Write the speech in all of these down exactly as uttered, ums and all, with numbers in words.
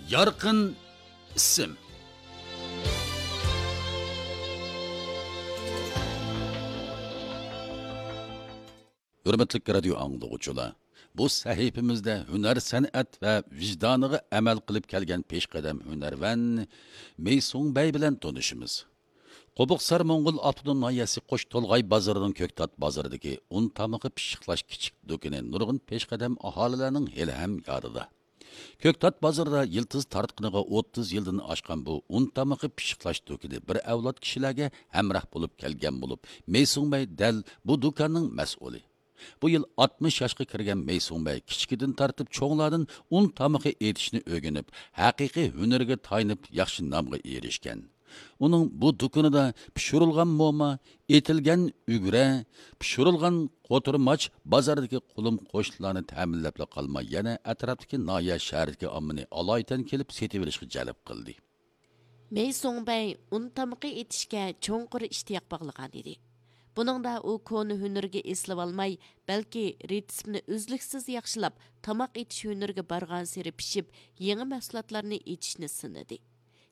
يارقىن ئىسىم. ھۆرمەتلىك رادىيو ئاڭلىغۇچىلار، بۇ سەھىپىمىزدە ھۈنەر، سەنئەت ۋە ۋىجدانىغا ئەمەل قىلىپ كەلگەن پېشقەدەم ھۈنەرۋەن مېي سۇڭبەي بىلەن تونۇشىمىز. قوبۇقسار موڭغۇل ئاپتونوم ناھىيەسى قوش تولغاي بازىرىنىڭ كۆكتات بازىرىدىكى ئۇن تامىقى پىششىقلاش كىچىك دۇكىنى نۇرغۇن پېشقەدەم ئاھالىلەرنىڭ ھېلىھەم يادىدا. كۆكتات بازىرىدا يىلتىز تارتقىنىغا ئوتتۇز يىلدىن ئاشقان بۇ ئۇن تامىقى پىششىقلاش دۇكىنى بىر ئەۋلاد كىشىلەرگە ھەمراھ بولۇپ كەلگەن بولۇپ، مېي سۇڭبەي دەل بۇ دۇكاننىڭ مەسئۇلى. بۇ يىل ئاتمىش ياشقا كىرگەن مېي سۇڭبەي كىچىكىدىن تارتىپ چوڭلاردىن ئۇن تامىقى ئېتىشنى ئۆگىنىپ، ھەقىقىي ھۈنىرىگە تايىنىپ ياخشى نامغا ئېرىشكەن. ئۇنىڭ بۇ دۇكىنىدا پىشۇرۇلغان موما، ئېتىلگەن ئۈگرە، پىشۇرۇلغان قوتۇرماچ بازاردىكى قولۇم قوشنىلارنى تەمىنلەپلا قالماي، يەنە ئەتراپتىكى ناھىيە، شەھەردىكى ئاممىنى ئالايىتەن كېلىپ سېتىۋېلىشقا جەلپ قىلدى. مېي سۇڭبەي ئۇن تامىقى ئېتىشكە چوڭقۇر ئىشتىياق باغلىغان ئىدى. بۇنىڭدا ئۇ كونا ھۈنىرىگە ئېسىلىۋالماي، بەلكى رېتسېپنى ئۈزلۈكسىز ياخشىلاپ، تاماق ئېتىش ھۈنىرىگە بارغانسېرى پىشىپ، يېڭى مەھسۇلاتلارنى ئېتىشنى سىنىدى.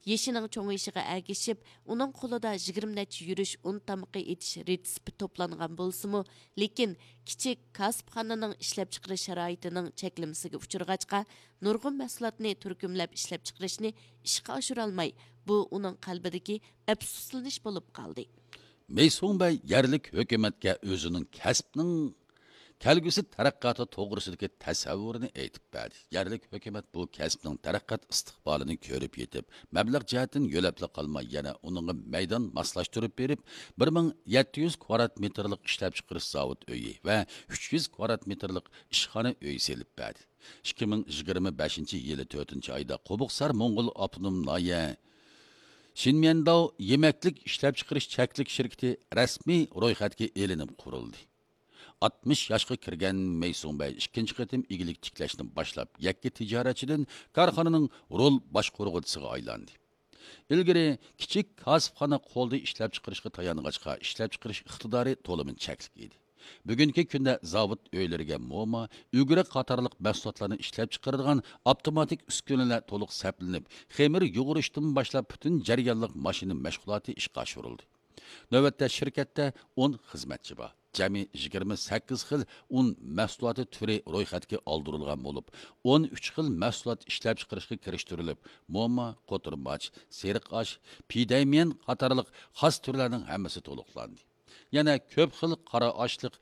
يېشىنىڭ چوڭىيىشىغا ئەگىشىپ، ئۇنىڭ قولىدا يىگىرمە نەچچە يۈرۈش ئۇن تامىقى ئېتىش رېتسېپى توپلانغان بولسىمۇ، لېكىن كىچىك كاسىپخانىنىڭ ئىشلەپچىقىرىش شارائىتىنىڭ چەكلىمىسىگە ئۇچرىغاچقا، نۇرغۇن مەھسۇلاتنى تۈركۈملەپ ئىشلەپچىقىرىشنى ئىشقا ئاشۇرالماي، بۇ ئۇنىڭ قەلبىدىكى ئەپسۇسلىنىش بولۇپ قالدى. مېي سۇڭبەي يەرلىك ھۆكۈمەتكە ئۆزىنىڭ كەسپىنىڭ كەلگۈسى تەرەققىياتى توغرىسىدىكى تەسەۋۋۇرىنى ئېيتىپ بەردى. يەرلىك ھۆكۈمەت بۇ كەسىپنىڭ تەرەققىيات ئىستىقبالىنى كۆرۈپ يېتىپ، مەبلەغ جەھەتتىن يۆلەپلا قالماي، يەنە ئۇنىڭغا مەيدان ماسلاشتۇرۇپ بېرىپ، بىر مىڭ يەتتە يۈز كۋادرات مېتىرلىق ئىشلەپچىقىرىش زاۋۇت ئۆيى ۋە ئۈچ يۈز كۋادرات مېتىرلىق ئىشخانا ئۆيى سېلىپ بەردى. ئىككى مىڭ يىگىرمە بەشىنچى يىلى تۆتىنچى ئايدا قوبۇقسار موڭغۇل ئاپتونوم ناھىيە شىنميەنداۋ يېمەكلىك ئىشلەپچىقىرىش چەكلىك شىركىتى رەسمىي رويخەتكە ئېلىنىپ قۇرۇلدى. ئاتمىش ياشقا كىرگەن مەي سۇڭبەي ئىككىنچى قېتىم ئىگىلىك تىكلەشنى باشلاپ، يەككە تىجارەتچىدىن كارخانىنىڭ رول باشقۇرغۇچىسىغا ئايلاندى. ئىلگىرى كىچىك كاسىپخانا قولدا ئىشلەپچىقىرىشقا تايانغاچقا، ئىشلەپچىقىرىش ئىقتىدارى تولىمۇ چەكلىك ئىدى. بۈگۈنكى كۈندە زاۋۇت ئۆيلىرىگە موما، ئۈگرە قاتارلىق مەھسۇلاتلارنى ئىشلەپچىقىرىدىغان ئاپتوماتىك ئۈسكۈنىلەر تولۇق سەپلىنىپ، خېمىر يۇغۇرۇشتىن باشلاپ پۈتۈن جەريانلىق ماشىنا مەشغۇلاتى ئىشقا ئاشۇرۇلدى. نۆۋەتتە شىركەتتە ئون خىزمەتچى بار. جەمئىي يىگىرمە سەككىز خىل ئۇن مەھسۇلاتى تۈرى رويخەتكە ئالدۇرۇلغان بولۇپ، ئون ئۈچ خىل مەھسۇلات ئىشلەپچىقىرىشقا كىرىشتۈرۈلۈپ، موما، قوتۇرماچ، سېرىق ئاش، پىدەيمىيەن قاتارلىق خاس تۈرلەرنىڭ ھەممىسى تولۇقلاندى. يەنە كۆپ خىل قارا ئاشلىق،